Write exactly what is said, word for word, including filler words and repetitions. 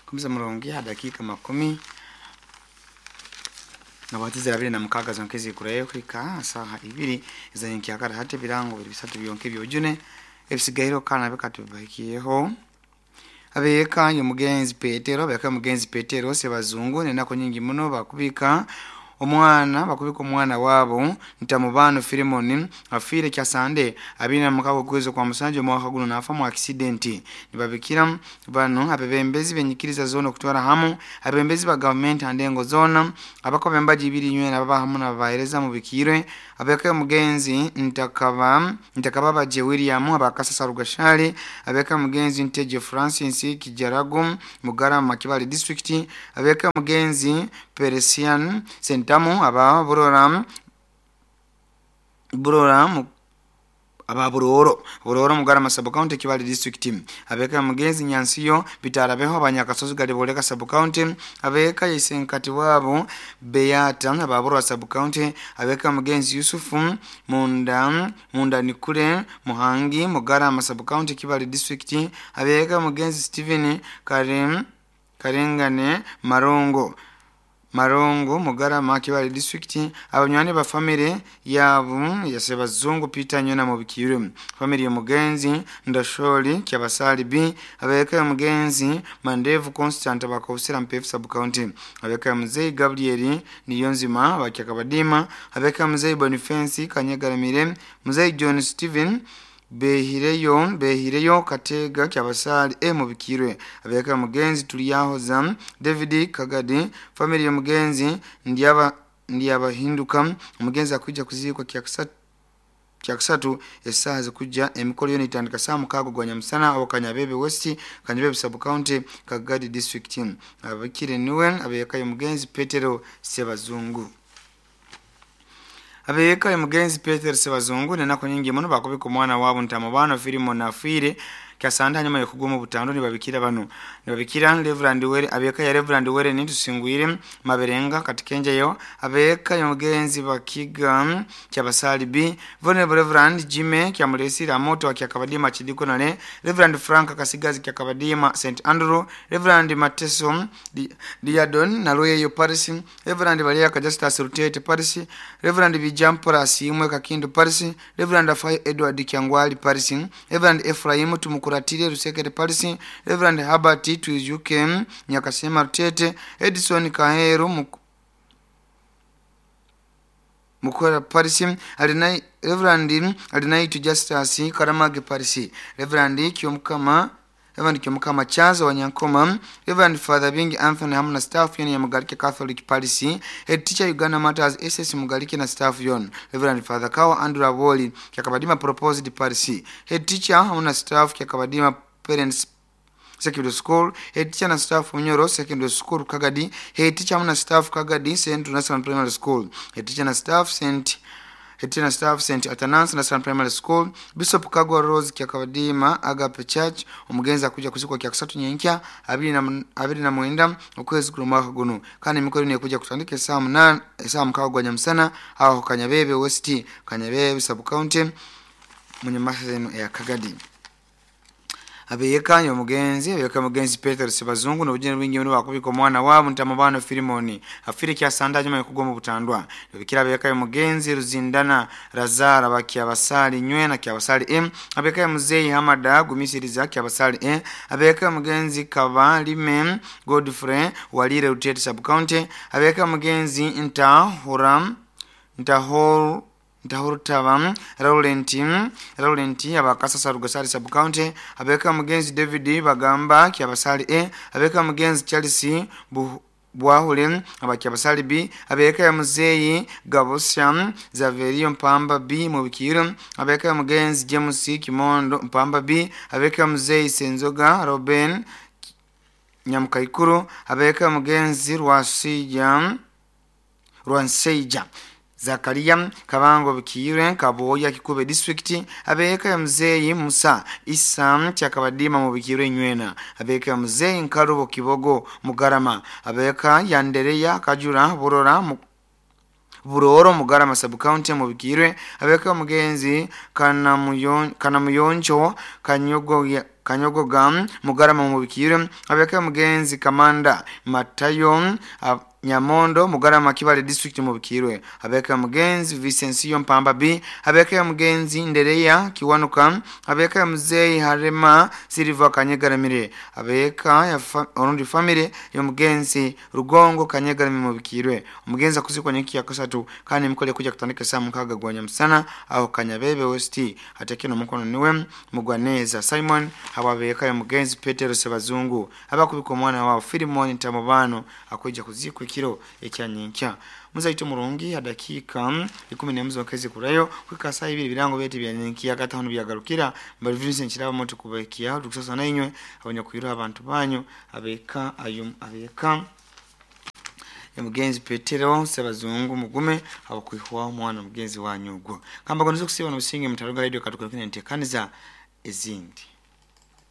Kumisa murungi ha dakika makumi nabatiza abiri na mukaga zonkezi kurayo kuhika saha ibiri ezanyenkyakara. Hati ebirango biri bisatu byonka ebyojune ebisigairo kana bikatubahikiyeho. Abeeka y'omugenzi Petero, abeeka y'omugenzi Petero Sebazungu nenaku nyingi muno bakubika omwana bakubika omwana waabo Ntamubano Filimoni afiire kyasande abiri na mukaga okwezi kwa musanju omwaka guno nafa mu accident. Nibabikira bano abebembezi benyikiriza zona okutwara hamu abebembezi ba gavumenti andengo zona abakoba embaji ibiri nywena baba hamu nababahereza mubikirwe. Abeka omugenzi Ntakaba Ntakababaje William abakasasa Rugashali, abeka omugenzi Nteje Francis Kijaragu Mugarama Kibali district, abeka omugenzi Peresian Sentamu aba Burora Burora mu aba Buroro Buroro Mugarama sub county Kibali district, abeka mugenzi Nyansiyo Bitarabeho abanyakasozi Galiboleka sub county, abeka Isenkati wabo Beata aba Burora sub county, abeka mugenzi Yusufu Munda Munda Nikure Muhangi Mugarama sub county Kibali district, abeka mugenzi Steven Karim Karengane Marongo Marongo Mugarama Kibali district, abanywani ba family yabo yasebazungu Peter Nyona mubikire family ya mugenzi Ndasholi Kyabasali B, abeka mugenzi Mandevu Constant bakobusira Mpefu sub county, abeka mzee Gabriel Niyonzima bakyakabadima, abeka mzee Boniface Kanyagaramire, mzee John Steven Behireyo Behireyo Katega Kyabasali e mubikirwe, abeka mugenzi Tuliyahoza David Kagadi family ya mugenzi Ndyaba Ndyabahinduka. Omugenzi akuja kuzikwa kyakusatu kyakusatu esaha zikuja emikolo yona itandika saa mukaaga gwa nyamusana aho Kanyabebe West Kanyabebe sub county Kagadi district. Abakire niwe abeka mugenzi Petero Sebazungu. Abeka mugenzi Petero Sebazungu nenako nyingi muno bakubika omwana wabo Ntamubano Filimoni afiire kyasanda hanyuma yokugwa mu butando. Nibabikira bano nibabikira Reverend Were abeka ya Reverend Were nitusingwire Maberenga katikenjeyo, abeka yomugenzi Bakiga Kyabasali B, Vulnerable Reverend Jime Kyamulesira Moto Kyakabadima Chidikonale, Reverend Frank Kasigazi Kyakabadima Saint Andrew, Reverend Mateso Diadon Nalweyo Paris, Reverend Balia Kajastas Rutete Paris, Reverend Bijampora Simwe Kakindu Paris, Reverend Afai Edward Kyangwali Paris, Reverend Ephraim Tumukuratire Rusekere Paris, Reverend Herbert Twijuke Nyakasema Rutete, Edison Kaheru Muk Mukora Paris, Alinai Reverend Alinaitu Justus Karamage Paris, Reverend Kyomukama Reverend Kyomukama Chazo Wanyankoma, Reverend Father Bingi Anthony hamu na staff yoni ya Mugalike Catholic Paris, Head Teacher Uganda Matters S S Mugalike na staff yon, Reverend Father Kawa Andrew Aboli Kyakabadima Proposed Paris, Head Teacher hamu na staff Kyakabadima Parents Secondary School, Head Teacher na staff Munyoro Secondary School Kagadi, Head Teacher hamu na staff Kagadi Central National Primary School, Head Teacher na staff Saint Head Teacher na staff Saint Athanasius National Primary School, Bishop Kagwa Rose Kyakabadima Agape Church. Omugenzi akuja kuzikwa kyakusatu nyenkya abiri na abiri na mwenda okwezi kuno mwaka guno, kandi emikolo eno ekuja kutandika esaha munana esaha mukaaga gwa nyamusana aho Kanyabebe West Kanyabebe sub county munyamasa eno eya Kagadi. Abeyeka omugenzi abeyeka omugenzi Petero Sebazungu n'obujeni bwingi muno bakubika omwana waabo Ntamubano Filimoni afiire kyasanda hanyuma yokugwa mu butandwa. Nibabikira abeyeka omugenzi Ruzindana Lazara Bakyabasali Nywena Kyabasali M, abeyeka muzeyi Hamada Gumisiriza Kyabasali E, abeyeka omugenzi Kabalime Godfrey Walire Rutete sub county, abeyeka omugenzi Ntahura Ntahor Ntahurutaba Laurent Laurent abakasasa Rugasari sub county, abeka mugenzi David Bagamba Kyabasali E, abeka mugenzi Charles Bwahule abakyabasali B, abeka muzeyi Gabosya Zaverio Mpamba B mubikiro, abeka mugenzi James Kimondo Mpamba B, abeka muzeyi Senzoga Robin Nyamukaikuru, abeka mugenzi Rwasija Rwanseija Zakaria Kabango Bikire Kaboya Kikube district, abeka ya mzeyi Musa Isa Kyakabadima mu Bikire Nywena, abeka ya mzeyi Nkarubo Kibogo Mugarama, abeka ya Ndereya Kajura Burora mu Buroro Mugarama sub-county mubikirwe abeka omugenzi Kanamuyonjo Kanyogo Kanyogoga Mugarama mubikirwe abeka omugenzi Kamanda Matayo Nyamondo Mugarama Kibale district mubikirwe abeka omugenzi Vicencio Mpamba B abeka omugenzi Ndereya Kiwanuka abeka muzei Harema Silva Kanyegaramire abeka ya fa, orundi family y'omugenzi Rugongo Kanyegaramire mubikirwe omugenzi akuzikwa nyiki ya kasatu kandi mukole kuja kutandika saa mukaga gwanya msana aho Kanyabebe West atekeno mukono niwe Mugwaneza Simon hababeka y'omugenzi Petero Sebazungu abakubika omwana wao Filimon Tamubano akwijja kuzikwa ekiro ekyanyenkya muzaito murungi adakika ikumi n'emu zokezi kurayo kwikasa ibiri birango byeti byanyenkiya gatano byagarukira mbali Vincent kiraba moto kubekiya tukusasa nainywe abanyakwira abantu banyu abeka ayo abeka mugenzi Petero Sebazungu mugume abakwihwa omwana mugenzi wanyugwo kamba gonozo kusiba no businge mutaruga radio katukira ntekaniza ezindi.